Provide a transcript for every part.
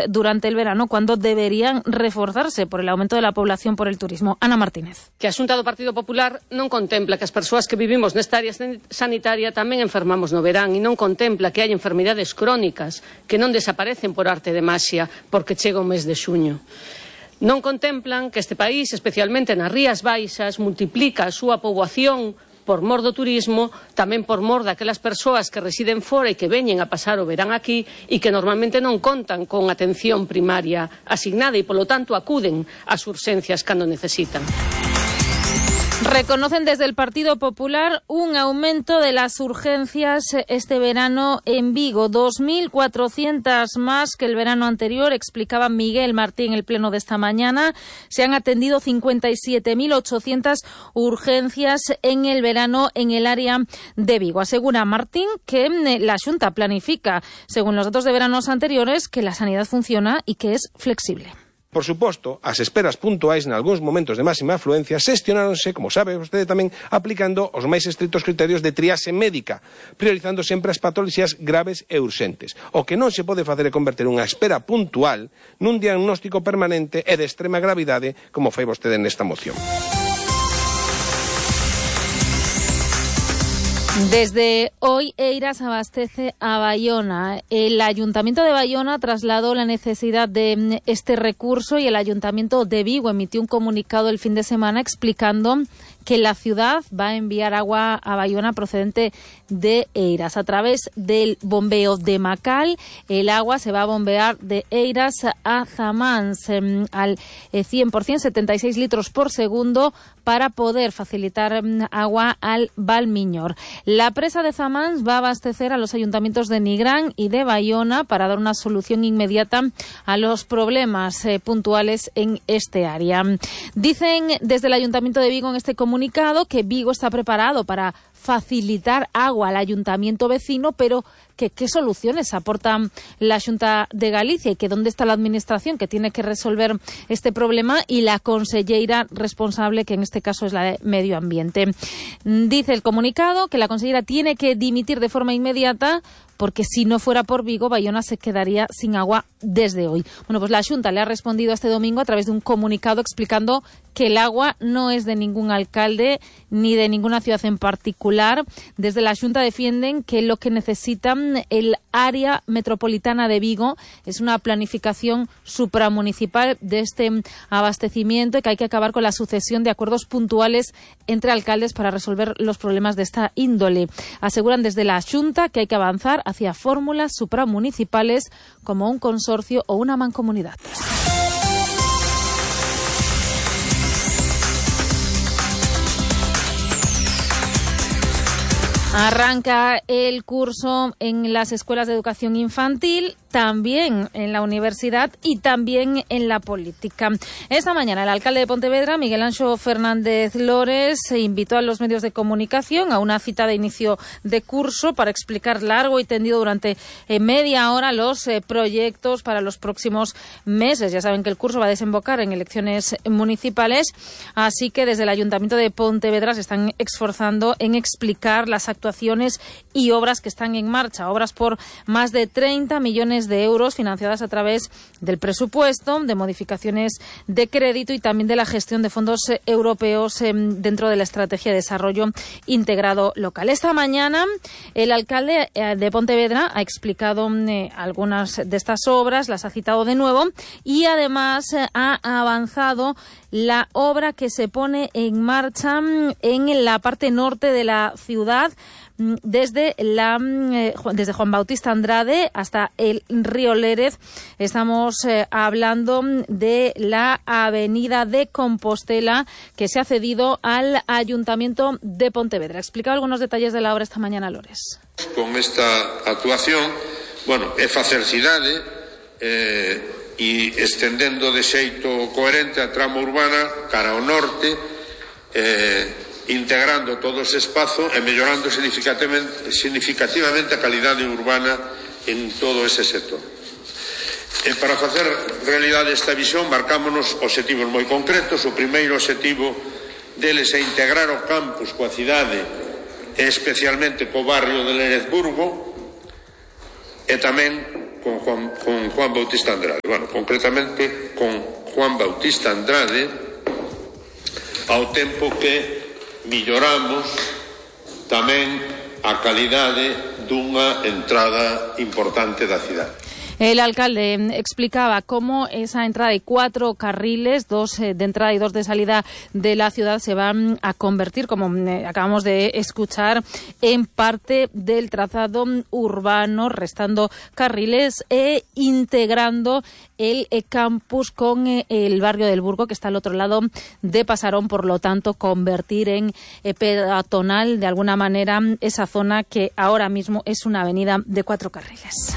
durante el verano, cuando deberían reforzarse por el aumento de la población por el turismo. Ana Martínez. Que a Xunta do Partido Popular non contempla que as persoas que vivimos nesta área sanitaria tamén enfermamos no verán e non contempla que hai enfermidades crónicas que non desaparecen por arte de maxia porque chega o mes de xuño. Non contemplan que este país, especialmente nas Rías Baixas, multiplica a súa poboación por mor do turismo, tamén por mor daquelas persoas que residen fora e que veñen a pasar o verán aquí e que normalmente non contan con atención primaria asignada e, polo tanto, acuden ás urxencias cando necesitan. Reconocen desde el Partido Popular un aumento de las urgencias este verano en Vigo, 2.400 más que el verano anterior, explicaba Miguel Martín en el pleno de esta mañana. Se han atendido 57.800 urgencias en el verano en el área de Vigo. Asegura Martín que la Xunta planifica, según los datos de veranos anteriores, que la sanidad funciona y que es flexible. Por suposto, as esperas puntuais nalgúns momentos de máxima afluencia xestionáronse, como sabe vostede tamén, aplicando os máis estritos criterios de triaxe médica, priorizando sempre as patoloxías graves e urxentes. O que non se pode facer é converter unha espera puntual nun diagnóstico permanente e de extrema gravidade, como fai vostede nesta moción. Desde hoy Eiras abastece a Bayona. El Ayuntamiento de Bayona trasladó la necesidad de este recurso y el Ayuntamiento de Vigo emitió un comunicado el fin de semana explicando que la ciudad va a enviar agua a Bayona procedente de Eiras. A través del bombeo de Macal, el agua se va a bombear de Eiras a Zamáns al 100%, 76 litros por segundo, para poder facilitar agua al Valmiñor. La presa de Zamáns va a abastecer a los ayuntamientos de Nigrán y de Bayona para dar una solución inmediata a los problemas puntuales en este área. Dicen desde el Ayuntamiento de Vigo en este comunicado que Vigo está preparado para facilitar agua al ayuntamiento vecino, pero que qué soluciones aporta la Xunta de Galicia y que dónde está la administración que tiene que resolver este problema y la conselleira responsable, que en este caso es la de Medio Ambiente. Dice el comunicado que la consellera tiene que dimitir de forma inmediata porque si no fuera por Vigo, Bayona se quedaría sin agua desde hoy. Bueno, pues la Xunta le ha respondido este domingo a través de un comunicado explicando que el agua no es de ningún alcalde ni de ninguna ciudad en particular. Desde la Xunta defienden que lo que necesitan el área metropolitana de Vigo es una planificación supramunicipal de este abastecimiento y que hay que acabar con la sucesión de acuerdos puntuales entre alcaldes para resolver los problemas de esta índole. Aseguran desde la Xunta que hay que avanzar hacia fórmulas supramunicipales como un consorcio o una mancomunidad. Arranca el curso en las escuelas de educación infantil, también en la universidad y también en la política. Esta mañana el alcalde de Pontevedra, Miguel Anxo Fernández Lores, se invitó a los medios de comunicación a una cita de inicio de curso para explicar largo y tendido durante media hora los proyectos para los próximos meses. Ya saben que el curso va a desembocar en elecciones municipales, así que desde el Ayuntamiento de Pontevedra se están esforzando en explicar las actuaciones y obras que están en marcha, obras por más de 30 millones de euros financiadas a través del presupuesto, de modificaciones de crédito y también de la gestión de fondos europeos dentro de la Estrategia de Desarrollo Integrado Local. Esta mañana el alcalde de Pontevedra ha explicado algunas de estas obras, las ha citado de nuevo y además ha avanzado la obra que se pone en marcha en la parte norte de la ciudad, desde Juan Bautista Andrade hasta el río Lérez. Estamos hablando de la avenida de Compostela, que se ha cedido al Ayuntamiento de Pontevedra. Ha explicado algunos detalles de la obra esta mañana, Lores. Con esta actuación, é facer cidade e estendendo de xeito coherente a trama urbana cara ao norte, integrando todo ese espazo e mellorando significativamente a calidade urbana en todo ese sector. E para facer realidade esta visión marcámonos obxectivos moi concretos. O primeiro obxectivo deles é integrar o campus coa cidade e especialmente co barrio de Lerezburgo e tamén con Juan Bautista Andrade. Bueno, concretamente con Juan Bautista Andrade, ao tempo que milloramos tamén a calidade dunha entrada importante da cidade. El alcalde explicaba cómo esa entrada y 4 carriles, 2 de entrada y 2 de salida de la ciudad, se van a convertir, como acabamos de escuchar, en parte del trazado urbano, restando carriles e integrando el campus con el barrio del Burgo, que está al otro lado de Pasarón. Por lo tanto, convertir en peatonal de alguna manera esa zona que ahora mismo es una avenida de 4 carriles.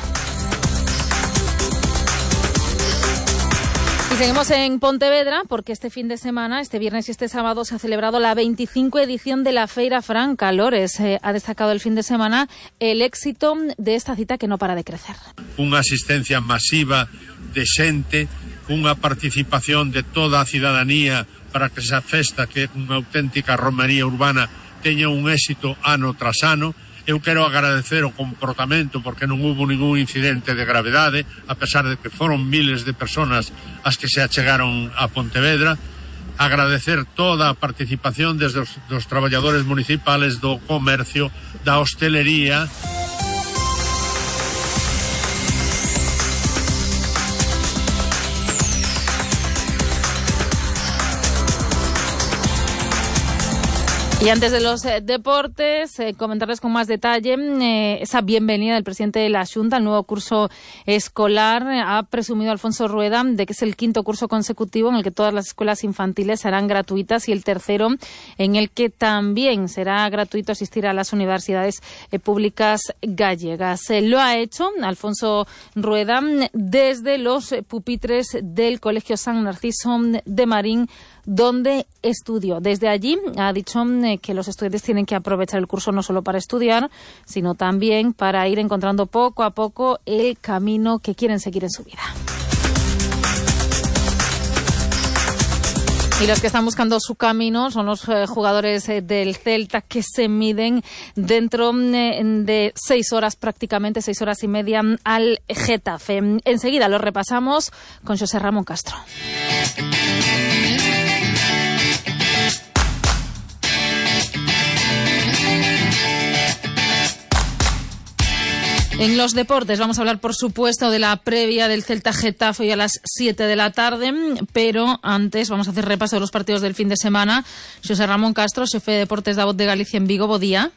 Y seguimos en Pontevedra porque este fin de semana, este viernes y este sábado, se ha celebrado la 25 edición de la Feira Franca Lores. Ha destacado el fin de semana el éxito de esta cita que no para de crecer. Unha asistencia masiva de xente, unha participación de toda a cidadanía para que esa festa, que é unha auténtica romería urbana, teña un éxito ano tras ano. Eu quero agradecer o comportamento porque non hubo ningún incidente de gravedade, a pesar de que foron miles de personas as que se achegaron a Pontevedra. Agradecer toda a participación desde os traballadores municipales, do comercio, da hostelería. Y antes de los deportes, comentarles con más detalle esa bienvenida del presidente de la Xunta al nuevo curso escolar. Ha presumido Alfonso Rueda de que es el 5º curso consecutivo en el que todas las escuelas infantiles serán gratuitas y el 3º en el que también será gratuito asistir a las universidades públicas gallegas. Lo ha hecho Alfonso Rueda desde los pupitres del Colegio San Narciso de Marín, donde estudió. Desde allí ha dicho que los estudiantes tienen que aprovechar el curso no solo para estudiar, sino también para ir encontrando poco a poco el camino que quieren seguir en su vida. Y los que están buscando su camino son los jugadores del Celta, que se miden dentro de 6 horas, prácticamente 6 horas y media, al Getafe. Enseguida lo repasamos con José Ramón Castro. En los deportes vamos a hablar, por supuesto, de la previa del Celta Getafe hoy a las 7 de la tarde, pero antes vamos a hacer repaso de los partidos del fin de semana. José Ramón Castro, xefe de deportes da Voz de Galicia en Vigo, bo día.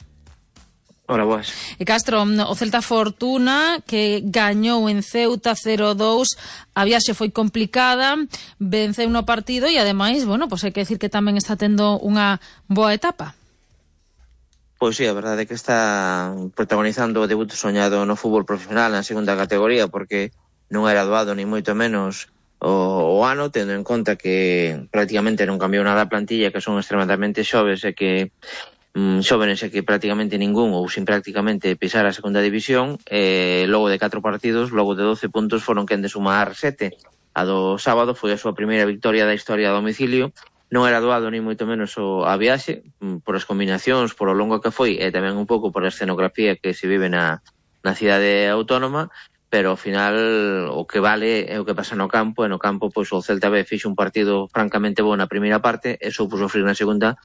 Hola, boas. Castro, o Celta Fortuna, que gañou en Ceuta 0-2, a viaxe foi complicada, venceu no partido e, ademais, bueno, pues hai que decir que tamén está tendo unha boa etapa. Pois sí, a verdade é que está protagonizando o debut soñado no fútbol profesional na segunda categoría, porque non era doado ni moito menos o ano, tendo en conta que prácticamente non cambiou nada a plantilla, que son extremadamente xoves e que xóvenes e que prácticamente ningún ou sin prácticamente pisar a segunda división. Logo de 4 partidos, logo de 12 puntos, foron quen de sumar 7. A do sábado foi a súa primeira victoria da historia a domicilio. Non era doado ni moito menos a viaxe, por as combinacións, por o longo que foi, e tamén un pouco por a escenografía que se vive na cidade autónoma, pero ao final o que vale é o que pasa no campo, e no campo pois o Celta B fixo un partido francamente bo na primeira parte e soupo sofrir na segunda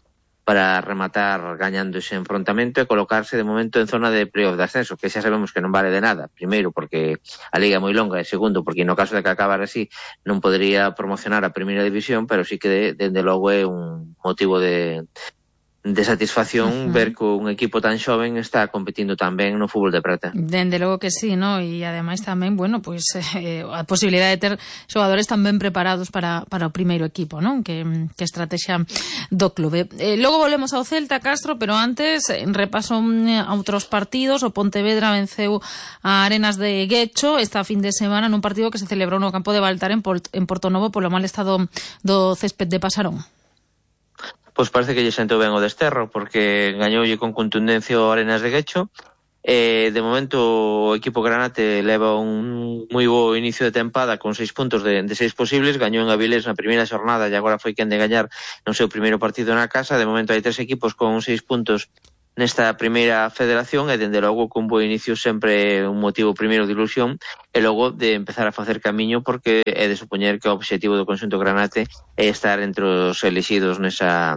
para rematar gañando ese enfrontamento e colocarse de momento en zona de playoff de ascenso, que xa sabemos que non vale de nada. Primeiro, porque a liga é moi longa, e segundo, porque no caso de que acabara así non podería promocionar a primeira división, pero sí que dende logo é un motivo de satisfacción ver que un equipo tan xoven está competindo tan ben no fútbol de prata. Dende logo que sí, ¿no? E ademais tamén, bueno, pues a posibilidade de ter xogadores tan ben preparados para o primeiro equipo, ¿no? Que estrategia do clube. Logo volvemos ao Celta, Castro, pero antes repaso a outros partidos. O Pontevedra venceu a Arenas de Guecho esta fin de semana nun partido que se celebrou no campo de Baltar en Portonovo polo mal estado do césped de Pasarón. Pois parece que lle sentou ben o desterro, porque gañoulle con contundencia o Arenas de Guecho. De momento o equipo granate leva un moi bo inicio de tempada con 6 puntos de 6 posibles. Gañou en Avilés na primeira xornada e agora foi quen de gañar no seu primeiro partido na casa. De momento hai 3 equipos con 6 puntos nesta primeira federación, e dende logo con bo inicio sempre un motivo primeiro de ilusión e logo de empezar a facer camiño, porque é de supoñer que o obxectivo do conxunto granate é estar entre os elixidos nesa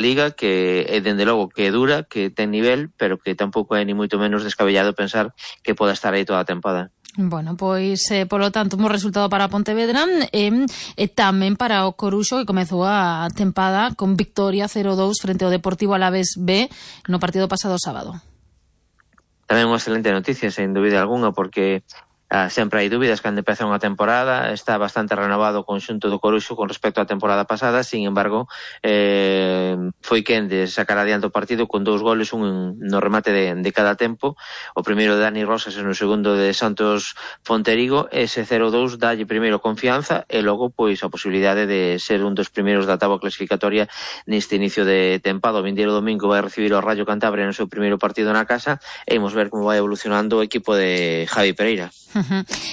liga, que é dende logo que é dura, que ten nivel, pero que tampouco é ni moito menos descabellado pensar que poda estar aí toda a tempada. Bueno, pois, polo tanto, un bo resultado para Pontevedra e tamén para o Coruxo, que comezou a tempada con victoria 0-2 frente ao Deportivo Alavés B no partido pasado sábado. Tamén unha excelente noticia, sen dúbida alguna, porque sempre hai dúbidas cando empeza unha temporada. Está bastante renovado o conxunto do Coruxo con respecto á temporada pasada. Sin embargo, foi quen de sacar adiante o partido con 2 goles, un no remate de cada tempo, o primeiro de Dani Rosas e no segundo de Santos Fonterigo. Ese 0-2 dalle primeiro confianza e logo pois a posibilidade de ser un dos primeiros da táboa clasificatoria neste inicio de tempada. O vindeiro domingo vai recibir o Rayo Cantabria no seu primeiro partido na casa e imos ver como vai evolucionando o equipo de Javi Pereira.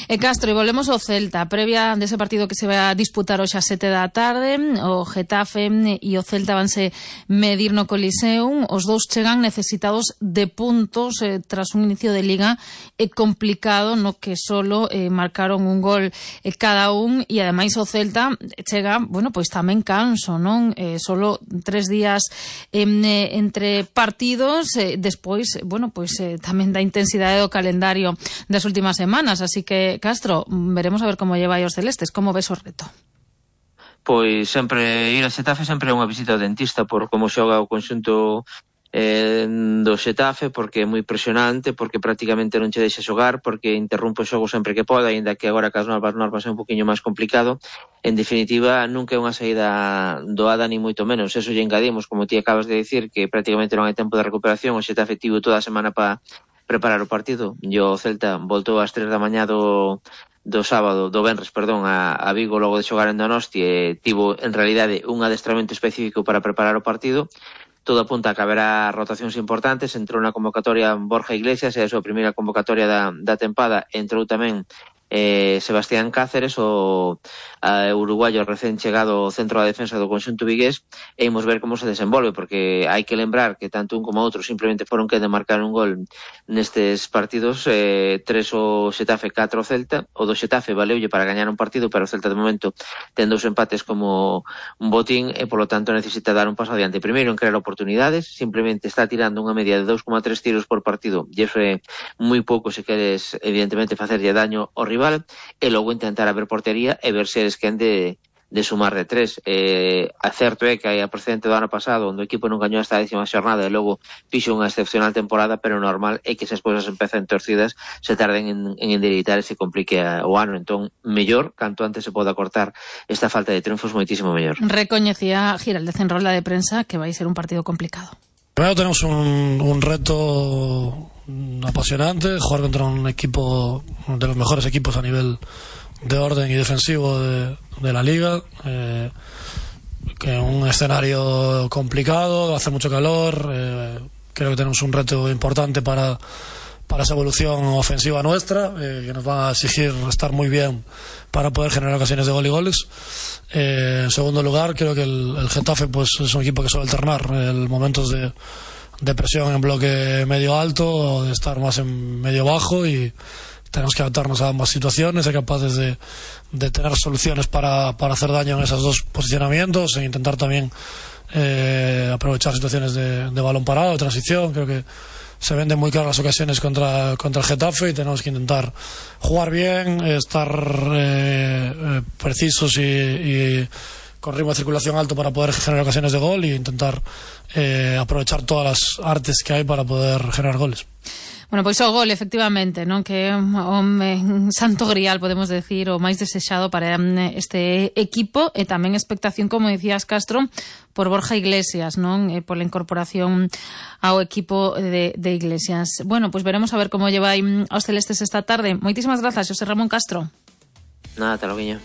E Castro, e volvemos ao Celta, previa dese partido que se vai a disputar hoxe a 7 da tarde. O Getafe e o Celta vanse medir no Coliseum. Os dous chegan necesitados de puntos tras un inicio de liga complicado, no que solo marcaron un gol cada un, e ademais o Celta chega, bueno, pois tamén canso, non? Solo 3 días entre partidos, despois, bueno, pois tamén da intensidade do calendario das últimas semanas. Así que, Castro, veremos a ver como lleva os celestes. Como ves o reto? Pois sempre ir a Xetafe sempre é unha visita ao dentista por como xoga o conxunto do Xetafe, porque é moi presionante, porque prácticamente non che deixa xogar, porque interrompe o xogo sempre que poda, ainda que agora cas normas é un poquinho máis complicado. En definitiva, nunca é unha saída doada ni moito menos. Eso lle engadimos, como ti acabas de dicir, que prácticamente non hai tempo de recuperación. O Xetafe tivo toda a semana para preparar o partido, e o Celta voltou ás 3 da mañá do venres, a Vigo logo de xogar en Donosti, e tivo en realidade un adestramento específico para preparar o partido. Todo apunta a que haberá rotacións importantes. Entrou na convocatoria Borja Iglesias, e a súa primeira convocatoria da tempada. Entrou tamén Sebastián Cáceres, o uruguayo recén chegado ao centro da defensa do conxunto vigués, e imos ver como se desenvolve, porque hai que lembrar que tanto un como outro simplemente foron que de marcar un gol nestes partidos, 3 o Xetafe, 4 o Celta. O do Xetafe valeulle para gañar un partido, pero o Celta de momento ten 2 empates como un botín e polo tanto necesita dar un paso adiante. Primeiro en crear oportunidades, simplemente está tirando unha media de 2,3 tiros por partido, e iso é moi pouco se queres evidentemente facerlle daño ao rival, e logo intentar abrir portería e ver se eres quen de sumar de 3. Certo é que hai a precedente do ano pasado onde o equipo non gañou esta 10ª xornada e logo fixo unha excepcional temporada, pero normal é que esas cousas empezan torcidas, se tarden en endereitar e se complique o ano. Entón, mellor, canto antes se poda cortar esta falta de triunfos, moitísimo mellor. Recoñecía Giraldez en rola de prensa que vai ser un partido complicado. Primero tenemos un reto apasionante, jugar contra un equipo de los mejores equipos a nivel de orden y defensivo de la liga, que un escenario complicado, hace mucho calor. Creo que tenemos un reto importante para esa evolución ofensiva nuestra, que nos va a exigir estar muy bien para poder generar ocasiones de gol y goles. En segundo lugar, creo que el Getafe pues es un equipo que suele alternar momentos de presión en bloque medio alto o de estar más en medio bajo, y tenemos que adaptarnos a ambas situaciones, ser capaces de tener soluciones para hacer daño en esos dos posicionamientos e intentar también aprovechar situaciones de balón parado, de transición. Creo que se venden muy claras las ocasiones contra el Getafe y tenemos que intentar jugar bien, estar precisos y con ritmo de circulación alto para poder generar ocasiones de gol, e intentar aprovechar todas las artes que hay para poder generar goles. Bueno, pois o gol, efectivamente, non, que é un santo grial, podemos decir, o máis desexado para este equipo, e tamén expectación, como dicías, Castro, por Borja Iglesias, non, pola incorporación ao equipo de Iglesias. Bueno, pois veremos a ver como lleva aos celestes esta tarde. Moitísimas grazas, Xosé Ramón Castro. Nada, te lo guiño.